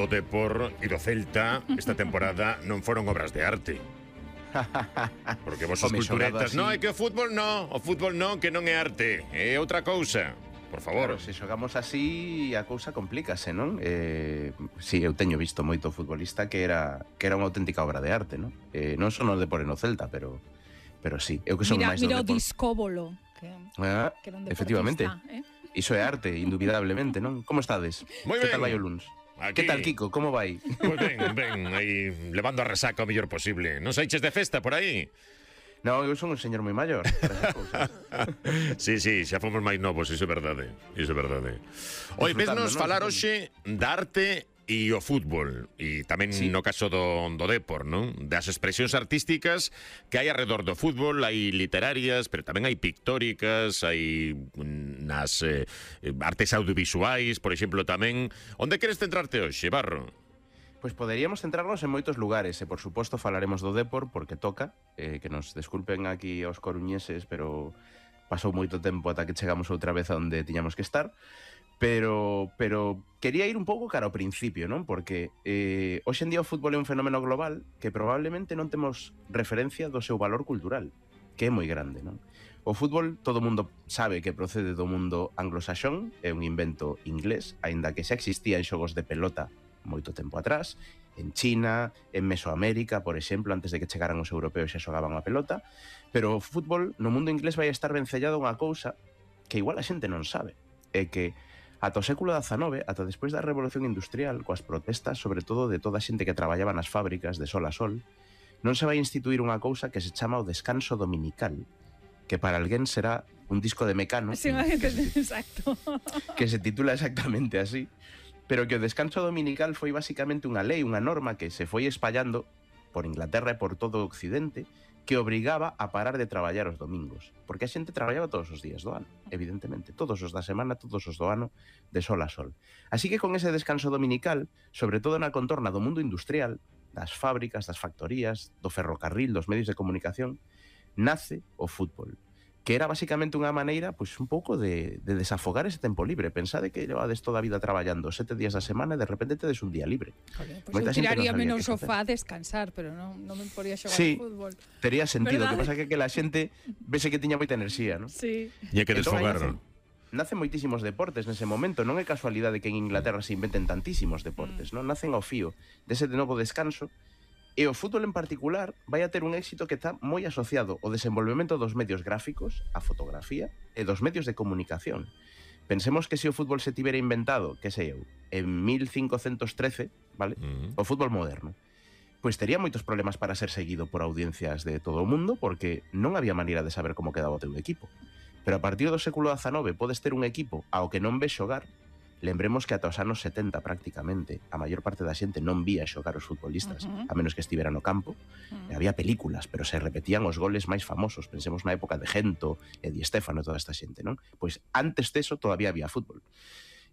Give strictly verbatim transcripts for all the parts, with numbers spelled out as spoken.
O Depor e do Celta esta temporada non foron obras de arte. Porque vos os culturetas, non, é que o fútbol non, o fútbol non, que non é arte, é outra cousa. Por favor. Claro, se xogamos así a cousa complícase, non? Eh, si, eu teño visto moito futbolista que era que era unha auténtica obra de arte, non? Eh, non son o Depor no Celta, pero pero sí, eu que son mira, máis mira do Depor. Mira o Discóbolo, que, ah, que era un efectivamente. Eh? Iso é arte, indubidablemente, non? Como estades? Moi que ben. tal vai o luns? Aquí. Que tal, Kiko? Como vai? Pois ben, ben, aí levando a resaca o mellor posible. Non saiches de festa por aí? No, eu son un señor moi maior. Sí, sí, xa fomos máis novos, iso é verdade. Iso é verdade. Oi, vesnos falar hoxe da arte e o fútbol, e tamén sí. no caso do, do Depor, non? Das expresións artísticas que hai alrededor do fútbol, hai literarias, pero tamén hai pictóricas, hai nas eh, artes audiovisuais, por exemplo, tamén. Onde queres centrarte hoxe, Barro? Pois poderíamos centrarnos en moitos lugares, e por suposto falaremos do Depor, porque toca, eh, que nos desculpen aquí aos coruñeses, pero pasou moito tempo ata que chegamos outra vez a onde tiñamos que estar. Pero, pero quería ir un pouco cara ao principio, non? Porque eh, hoxe en día o fútbol é un fenómeno global que probablemente non temos referencia do seu valor cultural, que é moi grande, non? O fútbol, todo o mundo sabe que procede do mundo anglosaxón, é un invento inglés, aínda que xa existía en xogos de pelota moito tempo atrás, en China, en Mesoamérica, por exemplo, antes de que chegaran os europeos xa xogaban a pelota, pero o fútbol no mundo inglés vai estar vencellado a unha cousa que igual a xente non sabe, é que ata o século dezanove, ata despois da Revolución Industrial, coas protestas, sobre todo de toda a xente que traballaba nas fábricas de sol a sol, non se vai instituir unha cousa que se chama o descanso dominical, que para alguén será un disco de Mecano, sí, que, exacto. que se titula exactamente así, pero que o descanso dominical foi basicamente unha lei, unha norma que se foi espallando por Inglaterra e por todo o Occidente, que obrigaba a parar de traballar os domingos, porque a xente traballaba todos os días do ano, evidentemente, todos os da semana, todos os do ano, de sol a sol. Así que con ese descanso dominical, sobre todo na contorna do mundo industrial, das fábricas, das factorías, do ferrocarril, dos medios de comunicación, nace o fútbol, que era basicamente unha maneira, pois, un pouco de, de desafogar ese tempo libre. Pensade que levades toda a vida traballando sete días a semana e de repente tedes un día libre. Joder, pues eu tiraría no menos sofá a descansar, pero non, non me podría xogar sí, ao fútbol. Tería sentido, ¿verdad? Que pasa que, que la xente vese que tiña moita enerxía, ¿no? Sí. E hai que desfogar, non? Nacen moitísimos deportes nese momento, non é casualidade que en Inglaterra se inventen tantísimos deportes, non? Nacen ao fío dese de novo descanso. E o fútbol en particular vai a ter un éxito que está moi asociado ao desenvolvemento dos medios gráficos, a fotografía e dos medios de comunicación. Pensemos que se o fútbol se tivera inventado, que sei eu, en mil cincocentos trece, vale? Uh-huh. O fútbol moderno, pois tería moitos problemas para ser seguido por audiencias de todo o mundo, porque non había maneira de saber como quedaba o teu equipo. Pero a partir do século dezanove podes ter un equipo ao que non ves xogar. Lembremos que ata os anos setenta prácticamente a maior parte da xente non vía xogar os futbolistas, uh-huh. a menos que estivera no campo. Uh-huh. Había películas, pero se repetían os goles máis famosos. Pensemos na época de Gento e Di Stéfano e toda esta xente, non? Pois antes deso todavía había fútbol.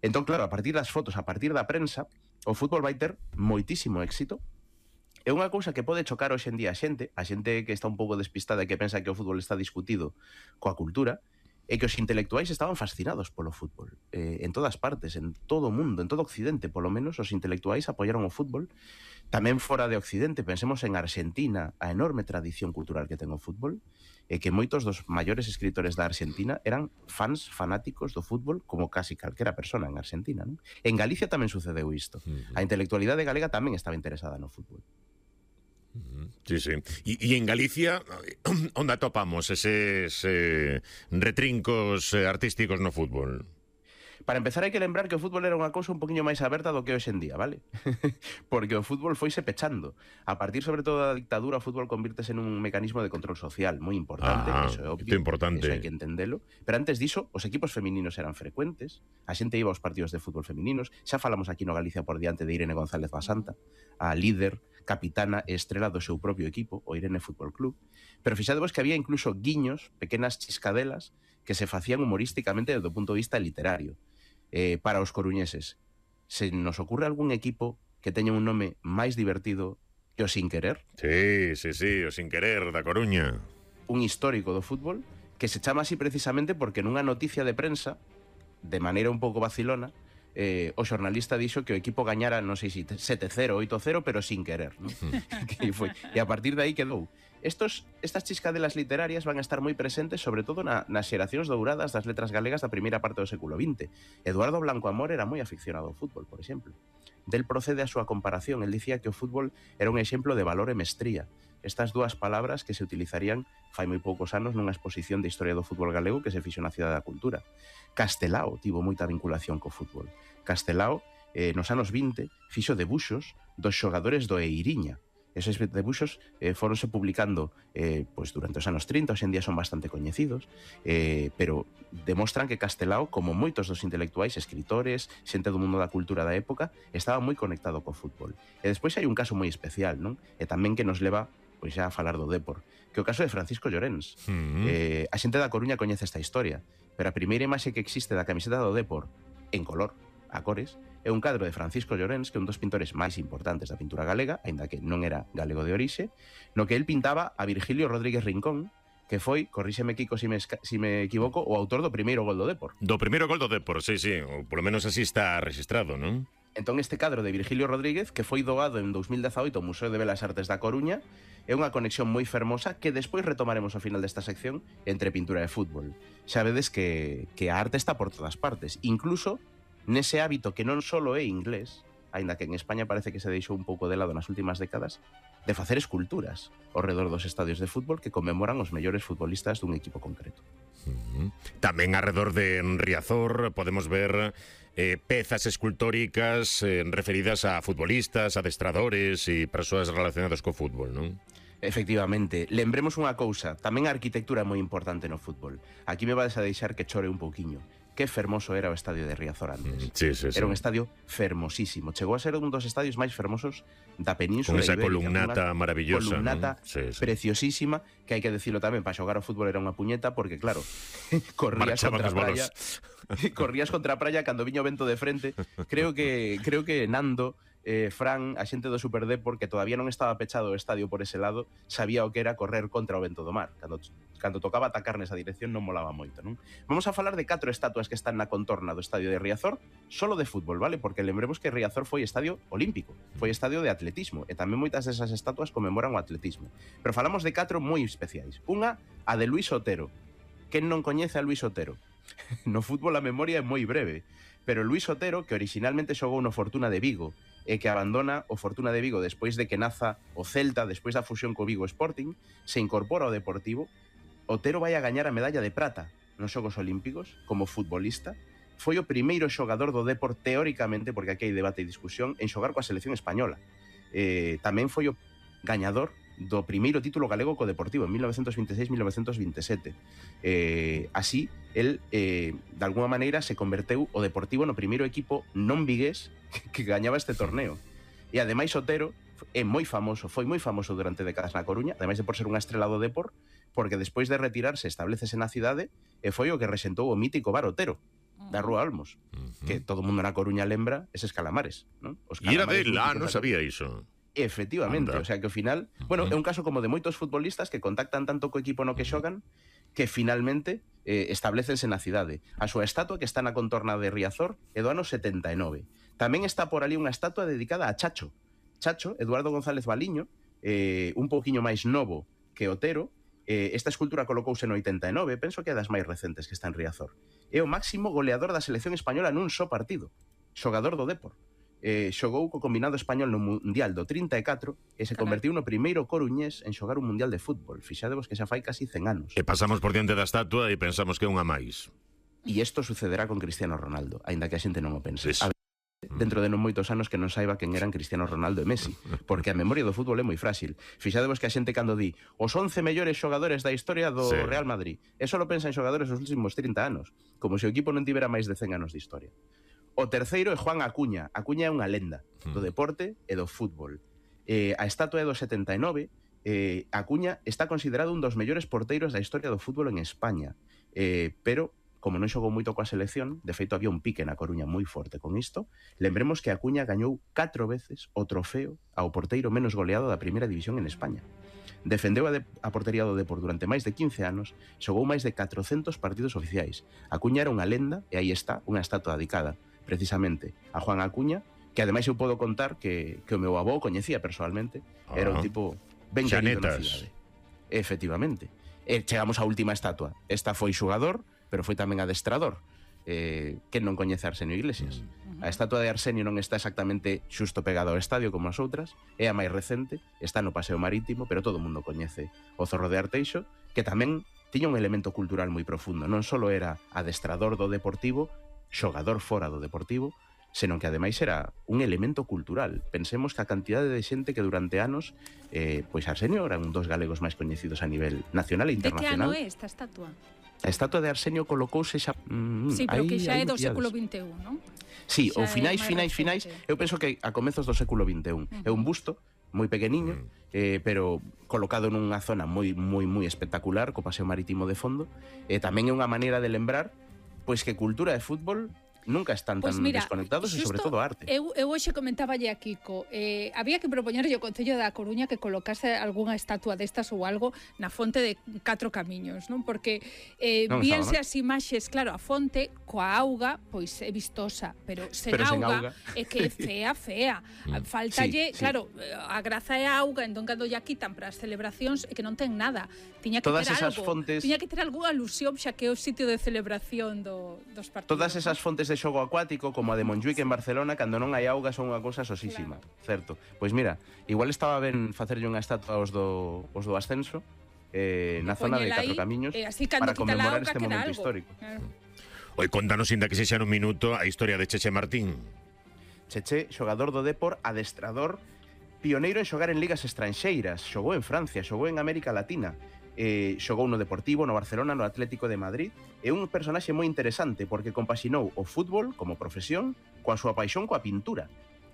Entón, claro, a partir das fotos, a partir da prensa, o fútbol vai ter moitísimo éxito. É unha cousa que pode chocar hoxe en día a xente, a xente que está un pouco despistada e que pensa que o fútbol está discutido coa cultura, é que os intelectuais estaban fascinados polo fútbol. Eh, en todas partes, en todo o mundo, en todo Occidente, polo menos, os intelectuais apoiaron o fútbol. Tamén fora de Occidente, pensemos en Argentina, a enorme tradición cultural que ten o fútbol, e que moitos dos maiores escritores da Argentina eran fans fanáticos do fútbol, como casi calquera persona en Argentina, non? En Galicia tamén sucedeu isto. A intelectualidade galega tamén estaba interesada no fútbol. Sí, sí. E en Galicia, onde atopamos eses eh, retrincos eh, artísticos no fútbol? Para empezar hai que lembrar que o fútbol era unha cousa un poquinho máis aberta do que hoxe en día, vale? Porque o fútbol foise pechando. A partir, sobre todo, da dictadura, o fútbol convírtese nun mecanismo de control social moi importante, ah, eso é obvio, importante. Eso hai que entendelo. Pero antes diso, os equipos femininos eran frecuentes, a xente iba aos partidos de fútbol femininos, xa falamos aquí no Galicia por diante de Irene González Basanta, a líder, capitana e estrela do seu propio equipo, o Irene Fútbol Club. Pero fixadevos que había incluso guiños, pequenas chiscadelas, que se facían humorísticamente desde o punto de vista literario. Eh, para os coruñeses, se nos ocurre algún equipo que teña un nome máis divertido que o Sin Querer? Sí, sí, sí, o Sin Querer da Coruña. Un histórico do fútbol que se chama así precisamente porque nunha noticia de prensa, de maneira un pouco vacilona, eh, o xornalista dixo que o equipo gañara, non sei se sete cero, oito cero, pero sin querer, ¿no? que foi. E a partir de aí quedou. Estos, estas chiscadelas literarias van a estar moi presentes sobre todo na, nas xeracións douradas das letras galegas da primeira parte do século vinte. Eduardo Blanco Amor era moi aficionado ao fútbol, por exemplo. Del procede a súa comparación. El dicía que o fútbol era un exemplo de valor e mestría. Estas dúas palabras que se utilizarían fai moi poucos anos nunha exposición de historia do fútbol galego que se fixo na Cidade da Cultura. Castelao tivo moita vinculación co fútbol. Castelao, eh, nos anos vinte, fixo debuxos dos xogadores do Eiriña. Esos debuxos eh, foronse publicando eh, pois durante os anos trinta, hoxe en día son bastante coñecidos, eh, pero demostran que Castelao, como moitos dos intelectuais, escritores, xente do mundo da cultura da época, estaba moi conectado co fútbol. E despois hai un caso moi especial, non? E tamén que nos leva pois xa a falar do Dépor, que é o caso de Francisco Llorens. Mm-hmm. eh, a xente da Coruña coñece esta historia, pero a primeira imaxe que existe da camiseta do Dépor, en color, a cores, é un cadro de Francisco Llorens, que é un dos pintores máis importantes da pintura galega, aínda que non era galego de orixe, no que el pintaba a Virgilio Rodríguez Rincón, que foi, corríxeme Kiko se si me, si me equivoco, o autor do primeiro gol do Dépor. Do primeiro gol do Dépor, sí, sí, ou polo menos así está registrado, non? Entón este cadro de Virgilio Rodríguez, que foi doado en dous mil dezaoito ao Museo de Belas Artes da Coruña, é unha conexión moi fermosa que despois retomaremos ao final desta sección entre pintura e fútbol. Xa vedes que, que a arte está por todas partes, incluso nese hábito que non só é inglés, aínda que en España parece que se deixou un pouco de lado nas últimas décadas, de facer esculturas ao redor dos estadios de fútbol que conmemoran os mellores futbolistas dun equipo concreto. Uh-huh. Tamén alrededor de Riazor podemos ver eh, pezas escultóricas eh, referidas a futbolistas, adestradores e persoas relacionadas co fútbol, non? Efectivamente, lembremos unha cousa, tamén a arquitectura é moi importante no fútbol. Aquí me vais a deixar que chore un pouquiño. Que fermoso era o estadio de Riazor antes. Sí, sí, sí. Era un estadio fermosísimo. Chegou a ser un dos estadios máis fermosos da Península Ibérica. Con esa Ibérica, columnata maravillosa. Columnata, ¿no? Sí, sí. Preciosísima, que hai que decirlo tamén, para xogar ao fútbol era unha puñeta, porque claro, corrías Marchaban contra a praia, corrías contra a praia cando viño o vento de frente. Creo que creo que Nando, eh, Fran, a xente do Super Dépor, que todavía non estaba pechado o estadio por ese lado, sabía o que era correr contra o vento do mar. Cando, cando tocaba atacar nesa dirección non molaba moito, non? Vamos a falar de catro estatuas que están na contorna do estadio de Riazor, solo de fútbol, vale? Porque lembremos que Riazor foi estadio olímpico, foi estadio de atletismo, e tamén moitas desas estatuas conmemoran o atletismo. Pero falamos de catro moi especiais. Unha, a de Luis Otero. Quen non coñece a Luis Otero? No fútbol a memoria é moi breve, pero Luis Otero, que originalmente xogou no Fortuna de Vigo e que abandona o Fortuna de Vigo despois de que naza o Celta, despois da fusión co Vigo Sporting, se incorpora ao Deportivo. Otero vai a gañar a medalla de prata nos Xogos Olímpicos como futbolista. Foi o primeiro xogador do Dépor, teóricamente, porque aquí hai debate e discusión, en xogar coa selección española. Eh, tamén foi o gañador do primeiro título galego co Deportivo en mil novecentos vinte e seis mil novecentos vinte e sete. Eh, así, el, eh, de alguma maneira, se converteu o Deportivo no primeiro equipo non vigués que, que gañaba este torneo. E ademais Otero é moi famoso, foi moi famoso durante décadas na Coruña, ademais de por ser unha estrela do Dépor, porque despois de retirarse establecese na cidade e foi o que resentou o mítico bar Otero da Rúa Olmos, uh-huh. que todo mundo na Coruña lembra eses calamares, non? Os calamares. E era del, ah, non sabía iso. Efectivamente, Anda. O sea que ao final, bueno, é un caso como de moitos futbolistas que contactan tanto co equipo no que xogan que finalmente eh, establecense na cidade. A súa estatua que está na contorna de Riazor é do ano setenta e nove. Tamén está por ali unha estatua dedicada a Chacho. Chacho, Eduardo González Baliño, eh, un pouquiño máis novo que Otero. Eh, esta escultura colocouse no oitenta e nove, penso que é das máis recentes que está en Riazor. É o máximo goleador da selección española nun só partido. Xogador do Dépor. Eh, xogou co combinado español no Mundial do trinta e catro e se convertiu no primeiro coruñés en xogar un Mundial de fútbol. Fixadevos que xa fai casi cen anos. E pasamos por diante da estatua e pensamos que é unha máis. E isto sucederá con Cristiano Ronaldo, aínda que a xente non o pense. Sí. A dentro de non moitos anos que non saiba quen eran Cristiano Ronaldo e Messi, porque a memoria do fútbol é moi frágil. Fixadevos que a xente cando di os once mellores xogadores da historia do sí. Real Madrid, e só lo pensa en xogadores dos últimos trinta anos, como se o equipo non tivera máis de cen anos de historia. O terceiro é Juan Acuña. Acuña é unha lenda do deporte e do fútbol. Eh, a estatua é do setenta e nove. Eh, Acuña está considerado un dos mellores porteiros da historia do fútbol en España. Eh, pero, como non xogou moito coa selección, de feito había un pique na Coruña moi forte con isto, lembremos que Acuña gañou catro veces o trofeo ao porteiro menos goleado da primeira división en España. Defendeu a, de, a portería do Dépor durante máis de quince anos, xogou máis de catrocentos partidos oficiais. Acuña era unha lenda e aí está unha estatua dedicada. precisamente a Juan Acuña, que ademais eu podo contar que, que o meu avó coñecía personalmente, era un tipo ben querido na cidade. Efectivamente. E chegamos á última estatua. Esta foi xogador, pero foi tamén adestrador. Eh, que non coñece Arsenio Iglesias. A estatua de Arsenio non está exactamente xusto pegado ao estadio como as outras, é a máis recente, está no Paseo Marítimo, pero todo o mundo coñece o Zorro de Arteixo, que tamén tiña un elemento cultural moi profundo. Non só era adestrador do Deportivo, xogador fora do Deportivo, senón que ademais era un elemento cultural. Pensemos que a cantidade de xente que durante anos, eh, pois Arsenio era un dos galegos máis coñecidos a nivel nacional e internacional. De que ano é esta estatua? A estatua de Arsenio colocouse xa... Mm, sí, pero aí, que xa é do século vinte e un, non? Sí, ou finais, finais, finais, eu penso que a comezos do século vinte e un. Uh-huh. É un busto moi pequeniño, eh, pero colocado nunha zona moi moi moi espectacular, co Paseo Marítimo de fondo, e eh, tamén é unha maneira de lembrar pois que cultura e fútbol nunca están tan pues mira, desconectados e sobre todo arte. Eu, eu hoxe comentaba a Kiko, eh, había que propoñerlle ao Concello da Coruña que colocase algunha estatua destas ou algo na fonte de Catro Camiños, non? Porque eh, non víanse as imaxes, claro, a fonte coa auga, pois é vistosa, pero sen, pero auga, sen auga é que é fea, fea. Faltalle, sí, claro, sí. A graza é a auga, entón cando ya quitan para as celebracións é que non ten nada. Tiña que todas ter esas algo, fontes... tiña que ter algunha alusión xa que é o sitio de celebración do, dos partidos. Todas esas fontes de xogo acuático, como a de Montjuic en Barcelona, cando non hai auga son unha cousa sosísima, claro. Certo? Pois mira, igual estaba ben facerlle unha estatua aos do, aos do ascenso eh, na zona de Catro Camiños eh, para conmemorar este momento algo. Histórico. Claro. Oi, contanos, inda que se xa nun minuto, a historia de Cheche Martín. Cheche, xogador do Depor, adestrador, pioneiro en xogar en ligas estranxeiras, xogou en Francia, xogou en América Latina, eh, xogou no Deportivo, no Barcelona, no Atlético de Madrid. É un personaxe moi interesante porque compaxinou o fútbol como profesión coa súa paixón coa pintura.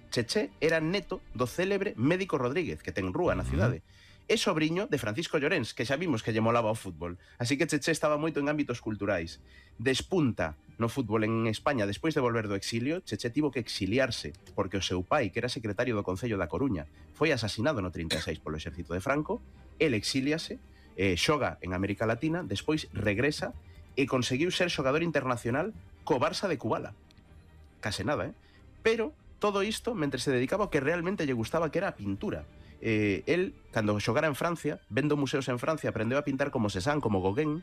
Cheche era neto do célebre Médico Rodríguez, que ten rúa na cidade. É sobriño de Francisco Llorens, que xa vimos que lle molaba o fútbol. Así que Cheche estaba moito en ámbitos culturais. Despunta no fútbol en España despois de volver do exilio. Cheche tivo que exiliarse porque o seu pai, que era secretario do Concello da Coruña, foi asasinado no trinta e seis polo exército de Franco. El exíliase, eh, xoga en América Latina, despois regresa e conseguiu ser xogador internacional co Barça de Kubala. Case nada, eh? Pero todo isto mentre se dedicaba ao que realmente lle gustaba, que era a pintura. Eh, el, cando xogara en Francia, vendo museos en Francia, aprendeu a pintar como Cézanne, como Gauguin,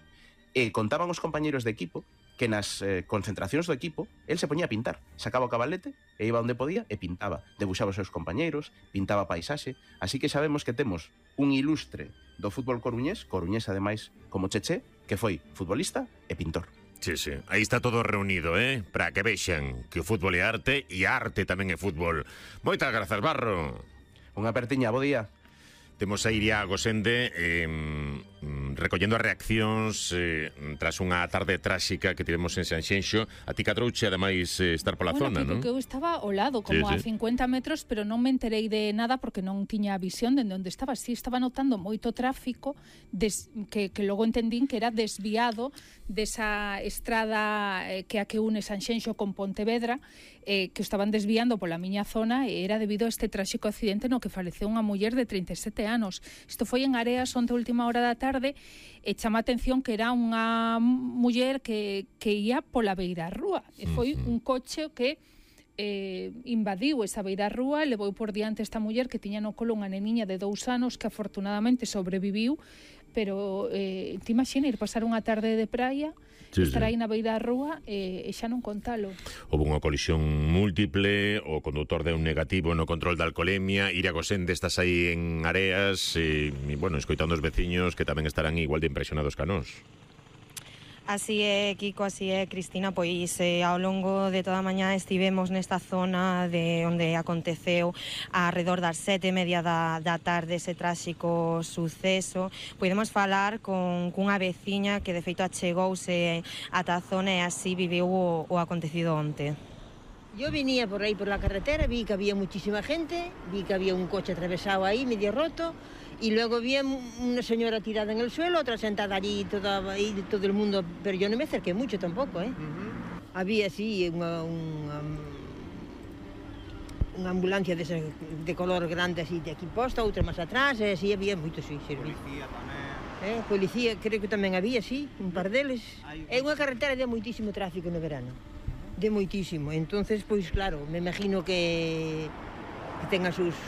e contaban os compañeros de equipo que nas eh, concentracións do equipo el se poñía a pintar, sacaba o cabalete e iba onde podía e pintaba, debuxaba os seus compañeiros, pintaba paisaxe. Así que sabemos que temos un ilustre do fútbol coruñés, coruñés ademais como Cheche, que foi futbolista e pintor. Sí, sí, aí está todo reunido, eh? Para que vexan que o fútbol é arte e a arte tamén é fútbol. Moitas grazas, Barro. Unha apertiña, bo día. Temos a Iria Gosende eh, recollendo as reaccións eh, tras unha tarde tráxica que tivemos en Sanxenxo. A ti cadrouche, ademais, eh, estar pola bueno, zona, non? Bueno, que eu estaba ao lado, como sí, a sí. cincuenta metros, pero non me enterei de nada porque non tiña visión de onde estaba. Sí, estaba notando moito tráfico des, que, que logo entendín que era desviado desa estrada eh, que a que une Sanxenxo con Pontevedra, eh, que estaban desviando pola miña zona e era debido a este tráxico accidente no que faleceu unha muller de trinta e sete anos. Isto foi en Areas onte a última hora da tarde e chama a atención que era unha muller que, que ia pola beira rúa e foi un coche que eh, invadiu esa beira rúa, levou por diante esta muller que tiña no colo unha neniña de dous anos que afortunadamente sobreviviu, pero eh, te imagina ir pasar unha tarde de praia, sí, estar aí sí. na beira da rúa e, e xa non contalo. Houve unha colisión múltiple, o condutor deu un negativo no control da alcoholemia. Iria Gosende, estás aí en Areas e, e bueno, escoitando os veciños que tamén estarán igual de impresionados que a nós. Así é, Kiko, así é, Cristina, pois eh, ao longo de toda a mañá estivemos nesta zona de onde aconteceu arredor das sete e media da, da tarde ese tráxico suceso. Podemos falar con cunha veciña que de feito achegouse ata a zona e así viveu o, o acontecido onte. Yo venía por aí por la carretera, vi que había muchísima gente, vi que había un coche atravesado ahí, medio roto, y luego vi una señora tirada en el suelo, otra sentada allí, toda, ahí, todo el mundo, pero yo no me acerqué mucho tampoco, ¿eh? Uh-huh. Había, sí, una, una, una ambulancia de, ese, de color grande, así, de aquí posta, outra más atrás, e así había moito, sí. sí. Policía tamén. Eh, policía, creo que tamén había, sí, un par deles. É unha carretera de moitísimo tráfico no verano. De moitísimo. Entonces, pois claro, me imagino que, que tenga sus,